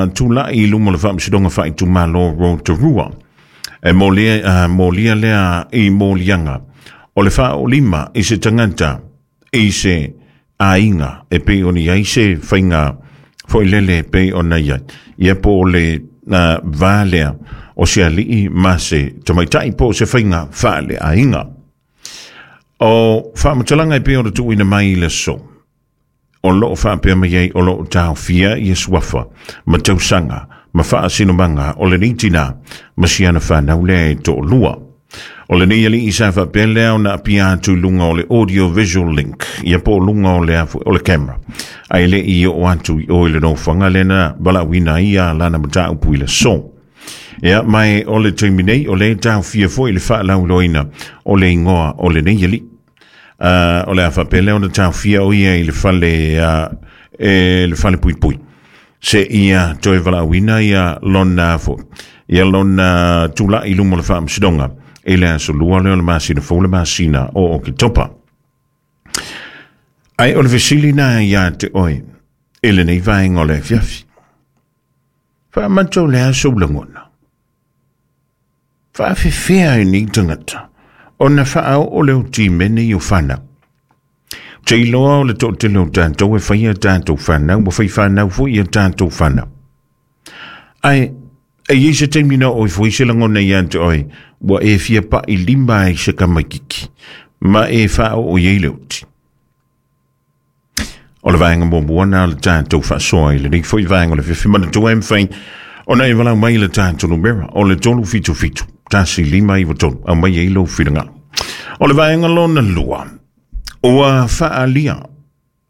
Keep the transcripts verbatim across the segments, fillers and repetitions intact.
uh, tula'i i luma o le faamasinoga faaitumalo Rotorua e molia, uh, molia lea i moliaga o le faaolima i se tagata i se aiga e pei ona i ai se faiga foilele pei ona i ai ia po o le uh, va lea o se ali'i ma se tamaitai po o se faiga faaleaiga. O faamatalaga e pei ona tuuina mai i le aso o loo faapea mai ai o loo taofia ia suafa ma tausaga ma faasinomaga o lenei tinā ma siana fanau lea e toalua. O lenei ali'i sa faapea lea ona apia atu i luga o le audio visual link ia po o luga o le, o le camera ae le'i oo atu i o i le nofoaga lea na valaauina ai ia lana mataupu i le aso. Ia mai o le taimi nei o le taofia foi le faalauiloaina o le igoa o lenei ali'i. Uh, o le a faapea lea ona taofia o ia i le fale, uh, e, le fale puipui se ia toe valaauina ia lona fo ia lona tula'i i luma o le faamasinoga i le aso lua lea o le masina fou, le masina o Oketopa. Ae o le fesili na iā te oe i lenei vaega o le afiafi. Faamata o le aso lagona. Faafefea e nei tagata ona faaoo le o timene i o fanau. Te iloa o le toatele o tatou e faia tatou fanau, ua fai fanau foi ia tatou fanau. Ae, e iai se taimi na oo ifo ai se lagona ia te oe, ua e fia pa'i lima ai se kamaikiki, ma e faaoo i ai le oti. O le vaega muamua na o le tatou faasoa i lenei foi vaega o le afiafi. Manatua e mafai ona e valaau mai i le tatou numera o le tolu fitu fitu, tasi lima iva tolu, aumai ai lou finagalo. O le vaega lona lua, ua faaalia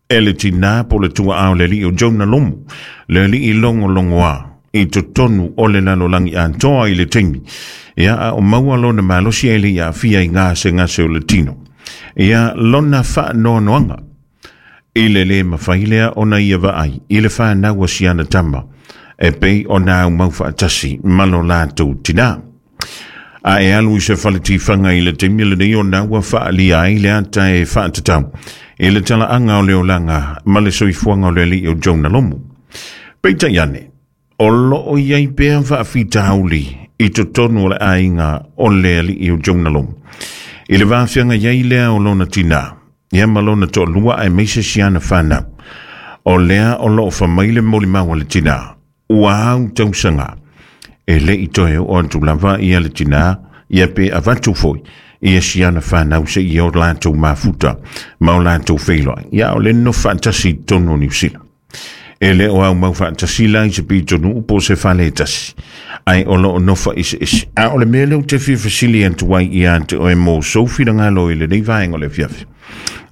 e le tinā po o le tua'a o le ali'i o Jonah Lomu, le ali'i logologoā i totonu o le lalolagi atoa i le taimi ia a o maua lona malosi ae le'i aafia i gasegase o le tino ia lona faanoanoaga i le lē mafai lea ona ia vaai i le fanau a siana tama e pei ona aumau faatasi ma lo latou tinā. A e alu i se fale tifaga i le taimi lenei ona ua faaalia ai le ata e faatatau i le talaaga o le olaga ma le soifuaga o le ali'i o Jonah Lomu. Peitai ane, o loo i ai pea faafitauli i totonu o le aiga o le ali'i o Jonah Lomu i le vafiaga i ai lea o lona tinā ia ma lona toalua aemaise siana fanau. O lea o loo famai le molimau a le tinā ua au tausaga e le'i toe oo atu lava ia le tinā ia pe avatu foi ia siana fanau seia o latou mafuta ma o latou feiloai. Ia o le nofo faatasi i totonu o Niu Sila. E le o aumau faatasi la i se pitonuu po o se fale e tasi, ae o loo nofo eseese. A o le mea lea ou te fia fesili atu ai ia te oe mo sou finagalo i lenei vaega o le afiafi.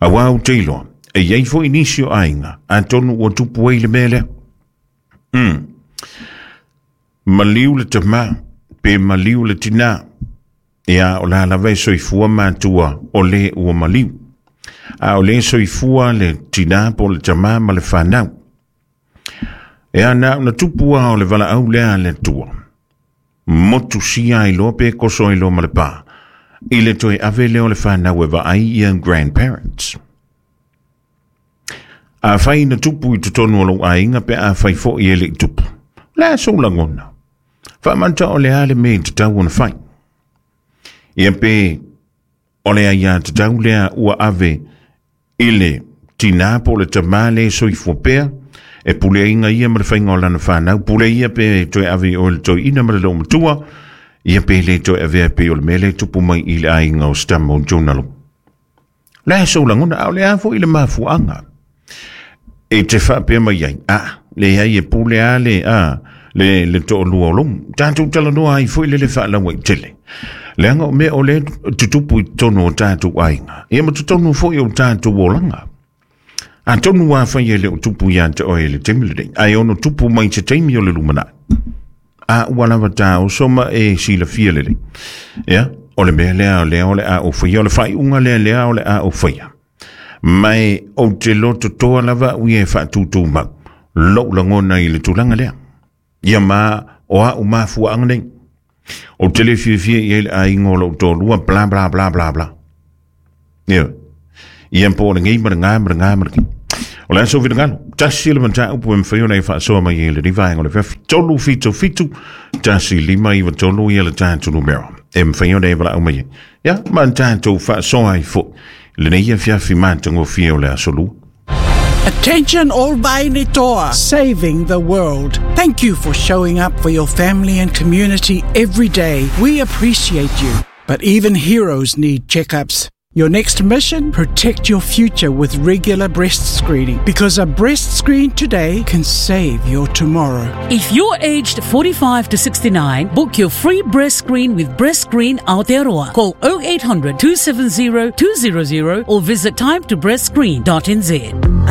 Auā ou te iloa, e i ai foi nisi o aiga, atonu ua tupu ai le mea lea. Mm. Maliu le tamā, pe maliu le tinā. Ia o la lava e soifua matua o le ua maliu. A o le soifua le tinā po le tamā ma le fanau. E ana ona tupu a o le valaau lea a le Atua. Motu sia ai loa pe koso ai loa ma le pā. I le toe ave lea o le fanau e vaai ia grandparents. Afai na tupu i totonu o lou aiga pe afai foi e le'i tupu. O le a sou lagona? Faamata o le a le mea i tatau ona fai. Ia pe o le aiā tatau lea ua ave i le tinā po o le tamā le soifua pea, e puleaina ia ma le faiga o lana fanau, pule ia pe toe ave i oe le toeaina ma le loomatua, ia pe le toe avea pei o le mea lea e tupu mai i le aiga o Stama o Jonah Lomu. O le a sou lagona, a o le a foi le mafuaaga e te faapea mai ai, a, leai e pule a le, a, le, le toalua o Lomu. Tatou talanoa ai foi le le faalauaitele. Leaga o mea o lea tutupu i totonu o tatou aiga, ia ma totonu foi o tatou olaga. Atonu afai e le o tupu ia te oe i le taimi lenei, ae ono tupu mai se taimi o le lumanai. A ua lava taoso ma e silafia lelei. Ia, o le mea lea o lea o le a ou faia, o le faaiuga lea lea o le a ou faia. Ma e ou te loto toa lava au ia e faatūtūmau lou lagona i le tulaga lea. Ia ma o au mafuaaga nei. Ou te le fiafia i ai le aiga o lou toalua, bla bla bla bla bla. Ia, ia po o le gei ma le gā ma le gā ma le gei. O le a sou finagalo, tasi le mataupu e mafai ona e faasoa mai ai i lenei vaega o le afiafi. Tolu fitu fitu, tasi lima iva tolu ia le tatou numera e mafai ona e valaau mai ai. Ia, ma tatou faasoa ai foi lenei afiafi matagofie o le aso Lua. Attention all Vainitoa, saving the world. Thank you for showing up for your family and community every day. We appreciate you. But even heroes need checkups. Your next mission? Protect your future with regular breast screening, because a breast screen today can save your tomorrow. If you're aged forty-five to sixty-nine, book your free breast screen with Breast Screen Aotearoa. Call oh eight hundred, two seven zero, two zero zero or visit time to breast screen dot n z.